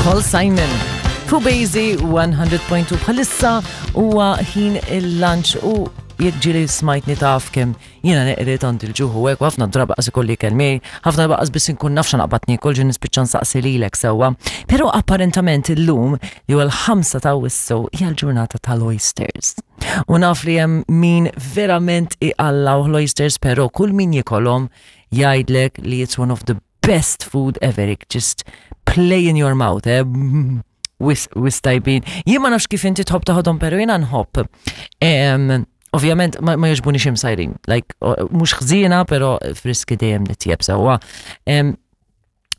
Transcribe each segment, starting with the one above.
Paul Simon. Fu Bazy 100.2 bħalissa huwa ħin il-lunch u jekk ġieli smajtni taf kemm jiena neqred għand il-ġuħ u hekk u ħafna drabi qas ikolli ikel miegħi, ħafna drabi qas biss inkun naf x'naqbad niekol ġie nispiċċa nsaqsi lilek sewwa. Però apparentament illum li huwa l-5 ta' Awwissu hija l-ġurnata tal-oysters. U naf li hemm min verament iqallaw l-oysters però kull min jikolhom jgħidlek li it's one of the best food ever, it just play in your mouth, eh? Wis, wis tajbin. Jien ma nafx kif inti tħobb taħodhom, pero jiena nħobb. Ovvjament ma, ma jogħġbunix imsajrin, like mhux ħżiena, pero friski dejjem nitjeb sewwa.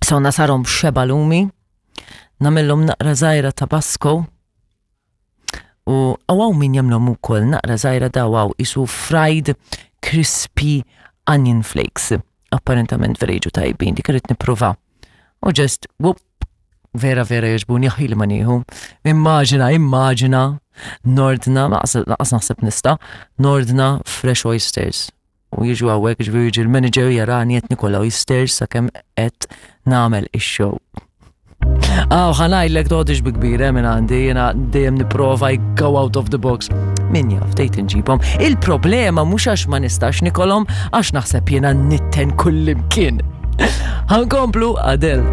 So nasarhom xeba lumi, nagħmilhom naqra żgħira tabasco, U għaw min jamlom ukoll naqra żgħira daw isu fried crispy onion flakes. Apparentament vera jiġu tajbin, dik irrid nipprova. U just, whoop, vera vera jogħġbuni aħi li ma nieħu. Immaġina, immaġina, nordna, laqas naħseb nista, nordna fresh oysters. U jiġu hawnhekk, ġifieri jiġi l-manager jarani qed nikol oysters sakemm qed nagħmel ix-show. Aw, ħa ngħidlek toħodix bi kbir eh, minn għandi, jiena dejjem nipprova I go out of the box. Min jaf, tgħid inġibhom. Il-problema mhux għax ma nistax nikolhom, għax naħseb jiena nitten kullimkien. Ħankomplu Adele.